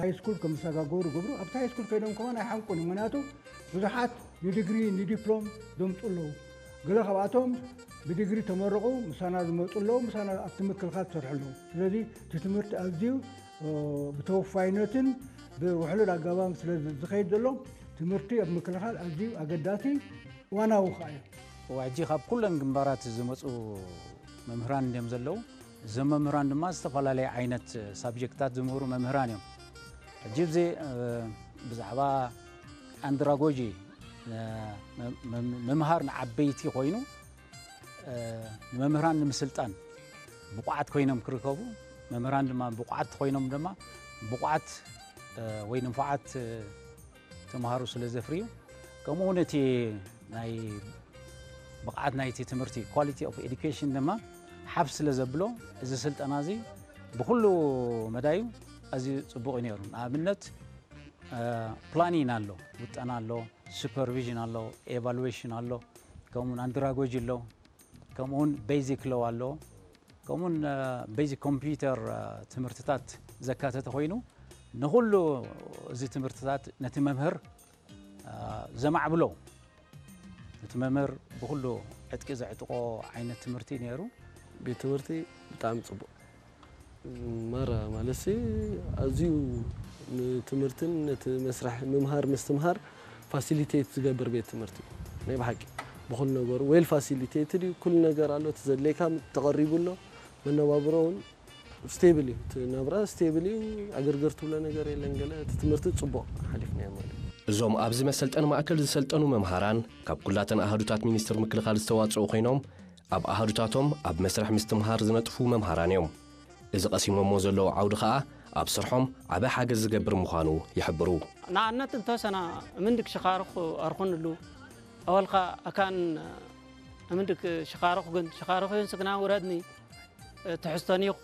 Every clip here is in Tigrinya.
ሃይ ስኩል ከም ዝሰጋገሩ ይገብሩ። ኣብቲ ሃይ ስኩል ከይዶም ከማን ኣይሓንቁን። ምኽንያቱ ብዙሓት ንዲግሪ ንዲፕሎም ዘምፁ ኣለዉ። ገለ ካብኣቶም ብዲግሪ ተመረቑ ምሳና ዝመፁ ኣለዉ፣ ምሳና ኣብቲ ምክልኻል ዝሰርሑ ኣለዉ። ስለዚ እቲ ትምህርቲ ኣዝዩ ብተወፋይነትን ብውሕሉል ኣገባብ ስለ ዝኸይድ ዘሎ ትምህርቲ ኣብ ምክልኻል ኣዝዩ ኣገዳሲ ዋናዊ ከዓ እዩ። ሕጂ ካብ ኩለን ግንባራት ዝመፁ መምህራን እዮም ዘለዉ። እዞም መምህራን ድማ ዝተፈላለየ ዓይነት ሳብጀክትታት ዝምህሩ መምህራን እዮም። ሕጂ ብዚ ብዛዕባ ኣንድራጎጂ ምምሃር ንዓበይቲ ኮይኑ ንመምህራን ንምስልጣን ብቑዓት ኮይኖም ክርከቡ፣ መምህራን ድማ ብቑዓት ኮይኖም ድማ ብቑዓት ወይ ንፉዓት ተምሃሮ ስለ ዘፍርዩ፣ ከምኡ እውን እቲ ናይ ብቕዓት ናይቲ ትምህርቲ ኳሊቲ ኦፍ ኤዱኬሽን ድማ ሓፍ ስለ ዘብሎ፣ እዚ ስልጠና እዚ ብኩሉ መዳዩ ኣዝዩ ጽቡቕ እዩ ነይሩ። ንኣብነት ፕላኒን ኣሎ፣ ውጠና ኣሎ፣ ሱፐርቪዥን ኣሎ፣ ኤቫሉዌሽን ኣሎ፣ ከምኡውን ኣንድራጎጂ ኣሎ፣ ከምኡውን ቤዚክ ሎው ኣሎ፣ ከምኡውን ቤዚክ ኮምፒውተር ትምህርትታት ዘካተተ ኮይኑ፣ ንኹሉ እዚ ትምህርትታት ነቲ መምህር ዘማዕብሎ፣ ነቲ መምህር ብኹሉ ዕጥቂ ዘዕጥቆ ዓይነት ትምህርቲ ነይሩ። ቤት ትምህርቲ ብጣዕሚ ጽቡቕ። መራ ማለትሲ ኣዝዩ ንትምህርትን ነቲ መስርሕ ምምሃር ምስትምሃር ፋሲሊቴት ዝገብር ቤት ትምህርቲ እዩ። ናይ ብሓቂ ብኹሉ ነገሩ ዌል ፋሲሊቴትድ እዩ። ኩሉ ነገር ኣሎ። እቲ ዘድልየካ ተቐሪቡ ኣሎ። መነባብሮ እውን ስቴብል እዩ። እቲ ናብራ ስቴብል እዩ። ዕግርግር ትብሎ ነገር የለን። ገለ እቲ ትምህርቲ ጽቡቕ ሓሊፍናዮ ማለት እዩ። እዞም ኣብዚ መሰልጠኒ ማእከል ዝሰልጠኑ መምሃራን ካብ ኩላተን ኣሃዱታት ሚኒስትር ምክልኻል ዝተዋጽኡ ኮይኖም ኣብ ኣሃዱታቶም ኣብ መስርሕ ምስትምሃር ዝነጥፉ መምሃራን እዮም። እዚ ቀሲሞሞ ዘለዉ ዓውዲ ኸኣ ኣብ ስርሖም ዓቢ ሓገዝ ዝገብር ምዃኑ ይሕብሩ። ንኣብነት እንተወሰና እምንድክ ሽኻርኹ ኣርኹንሉ ኣወልካ ኣካን እምንድክ ሽኻርኹ ግን ሽኻርኹ ይንስግና ውረድኒ ትሕዝቶን ይኹ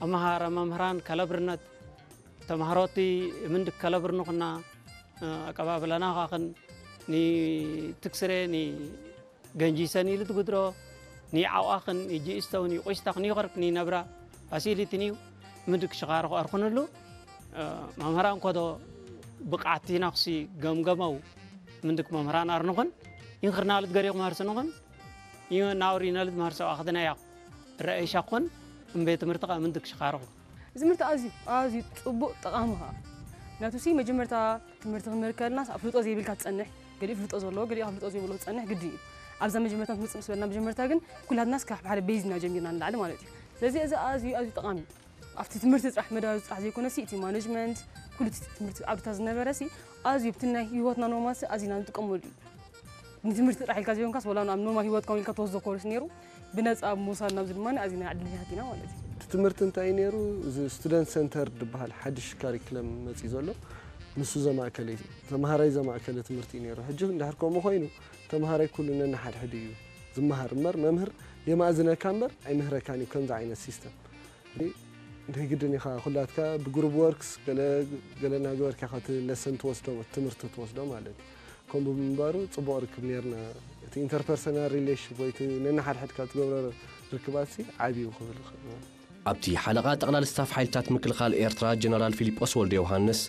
ኣመሃረ መምህራን ከለብርነት ተማሃሮቲ እምንድክ ከለብርንኹና ኣቀባብለና ኻኽን ኒ ትክስሬ ኒ ገንጂሰን ኢሉ ትጉድሮ ኒ ዓውኣኽን ጂ እስተውን ይቆይስታኽን ይኸርክ ኒ ነብራ ፋሲሊቲን እዩ ምንድክ ሽኻርኹ ኣርኹንሉ መምህራን ኮዶ ብቕዓቲ ናኽሲ ገምገመው ምንድክ መምህራን ኣርንኹን ይንኽርናልት ገሪኹም ሃርስንኹን ይናውሪነልት መህርሰው ኣኽድና ያኹ ረአይሻኹን እምቤት ትምህርቲ ኸ ምንድክ ሽኻርኹ ትምህርቲ ኣዝዩ ኣዝዩ ጽቡቕ ጠቓሚ ኸኣ ምክንያቱ ሲ መጀመርታ ትምህርቲ ክንምህር ከለናስ ኣፍልጦ ዘይብልካ ትጸንሕ ገሊኡ ፍልጦ ዘለዎ ገሊኡ ኣፍልጦ ዘይብሎ ትጸንሕ ግዲ እዩ ኣብዛ መጀመርታ ትምጽእ ምስ በልና መጀመርታ ግን ኩላትናስ ካብ ሓደ ቤዝና ጀሚርና ንላዕሊ ማለት እዩ ስለዚ እዚ ኣዝዩ ኣዝዩ ጠቓሚ እዩ ኣብቲ ትምህርቲ ጥራሕ መዳዊ ጥራሕ ዘይኮነሲ እቲ ማኔጅመንት ኩሉ እቲ ትምህርቲ ዓውድታት ዝነበረ ሲ ኣዝዩ ብቲ ናይ ህይወትና ኖርማል ሲ ኣዝና ንጥቀመሉ እዩ ንትምህርቲ ጥራሕ ኢልካ ዘይኮንካስ ወላ ኣብ ኖርማል ህይወት ከም ኢልካ ትወስዶ ኮርስ ነይሩ ብነፃ ኣብ ምውሳድ ናብዚ ድማ ኣዝና ኣድልያት ኢና ማለት እዩ እቲ ትምህርቲ እንታይ እዩ ነይሩ እዚ ስቱደንት ሰንተር ዝበሃል ሓድሽ ካሪክለም መፅእ ዘሎ ንሱ ዘማእከለ እዩ ተምሃራይ ዘማእከለ ትምህርቲ እዩ ነይሩ ሕጂ እንድሕር ከምኡ ኮይኑ ተምሃራይ ኩሉ ነንሓድሕድ እዩ ዝመሃር እምበር መምህር የማእዝነካ እምበር ኣይምህረካን እዩ ከምዚ ዓይነት ሲስተም ናይ ግድን ኢኻ ኩላትካ ብግሩብ ወርክስ ገለ ገለ እናገበርካ ኢኻ እቲ ለሰን ትወስዶ ትምህርቲ ትወስዶ ማለት እዩ ከምኡ ብምንባሩ ጽቡቕ ርክብ ነርና እቲ ኢንተርፐርሰናል ሪሌሽንሽፕ ወይ እቲ ነንሓድሕድካ ትገብሮ ርክባትሲ ዓብዩ ክብል ይኽእል ኣብቲ ሓለቓ ጠቕላል ስታፍ ሓይልታት ምክልኻል ኤርትራ ጀነራል ፊሊጶስ ወልደ ዮሃንስ፣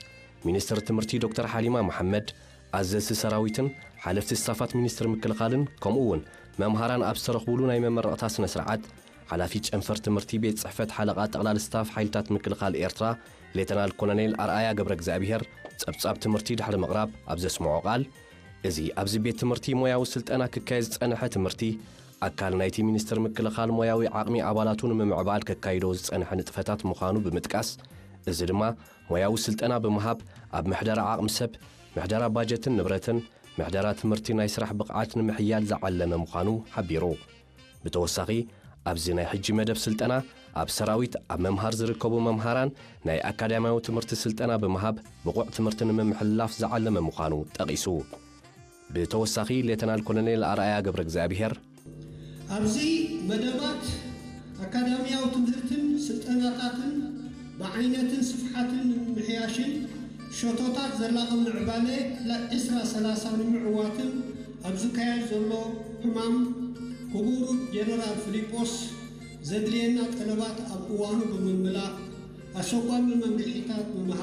ሚኒስትር ትምህርቲ ዶክተር ሓሊማ መሓመድ፣ ኣዘዝቲ ሰራዊትን ሓለፍቲ ስታፋት ሚኒስትር ምክልኻልን ከምኡ እውን መምሃራን ኣብ ዝተረኽቡሉ ናይ መመረቕታ ስነ ስርዓት ሓላፊ ጨንፈር ትምህርቲ ቤት ጽሕፈት ሓለቓ ጠቕላል ስታፍ ሓይልታት ምክልኻል ኤርትራ ሌተናል ኮሎኔል ኣርኣያ ገብረ እግዚኣብሄር ጸብጻብ ትምህርቲ ድሕሪ ምቕራብ ኣብ ዘስምዖ ቃል፣ እዚ ኣብዚ ቤት ትምህርቲ ሞያዊ ስልጠና ክካየድ ዝጸንሐ ትምህርቲ ኣካል ናይቲ ሚኒስትር ምክልኻል ሞያዊ ዓቕሚ ኣባላቱ ንምምዕባል ከካይዶ ዝጸንሐ ንጥፈታት ምዃኑ ብምጥቃስ፣ እዚ ድማ ሞያዊ ስልጠና ብምሃብ ኣብ ምሕደራ ዓቕሚ ሰብ፣ ምሕደራ ባጀትን ንብረትን፣ ምሕደራ ትምህርቲ ናይ ስራሕ ብቕዓት ንምሕያል ዝዓለመ ምዃኑ ሓቢሩ። ብተወሳኺ ኣብዚ ናይ ሕጂ መደብ ስልጠና ኣብ ሰራዊት ኣብ ምምሃር ዝርከቡ መምሃራን ናይ ኣካዳሚያዊ ትምህርቲ ስልጠና ብምሃብ ብቑዕ ትምህርቲ ንምምሕልላፍ ዝዓለመ ምዃኑ ጠቒሱ። ብተወሳኺ ሌተናል ኮሎኔል ኣርኣያ ገብረ እግዚኣብሄር፣ ኣብዚ መደባት ኣካዳሚያዊ ትምህርትን ስልጠናታትን ብዓይነትን ስፍሓትን ንምምሕያሽን ሸቶታት ዘላቒ ምዕባለ ዕስራ ሰላሳ ንምዕዋትን ኣብ ዝካየድ ዘሎ ዕማም ክቡር ጀነራል ፊሊጶስ ዘድልየና ጠለባት ኣብ እዋኑ ብምምላእ ኣሰጓሚ መምርሒታት ብምሃብ